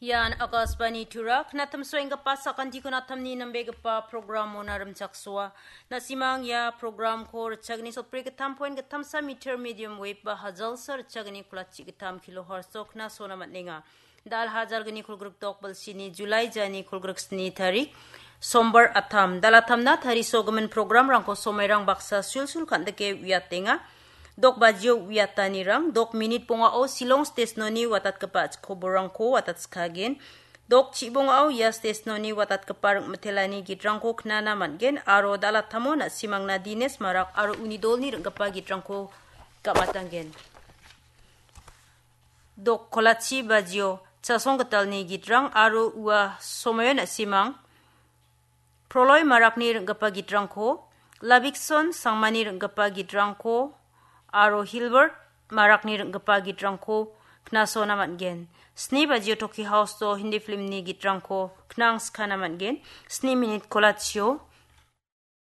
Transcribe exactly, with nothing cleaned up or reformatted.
Ian Akashvani Tura, knatam soenggipa sakantiko natamni nambegipa program mona rimchaksoa. Nasimang ia programko ritchagni sotbri gittam point gittamsa meter medium wave ba hajalsa ritchagni kulachi gittam kilohertz-o knasona man·enga. Dal hajalgni kolgrikdok bilsini July jani kolgriksni tarik, Sombar atam. Dal atamna tarisogimin programrangko somairang baksa sulsul kan·dike uiatenga. Dok bajio uiatanirang, dok minit bongao Silong Station-oni watatgipa koborrangko watatskagen. Dok chibongao ia station-oni watatgipa ring·mitelani gitrangko knana man·gen aro dal atamo na·simangna Dines Marak aro uni dolni ring·gipa gitrangko gam·atanggen. Dok kolachi bajio Chasong Gitalni gitrang aro ua somaio na·simang Proloi Marakni ring·gipa gitrangko, Labikson Sangmani ring·gipa gitrangko aro Hilbert Marakni ring·gipa gitrangko knasona man·gen. Sni bajio Toki House-o Hindi filmni gitrangko knangskana man·gen. Sni minit kolachio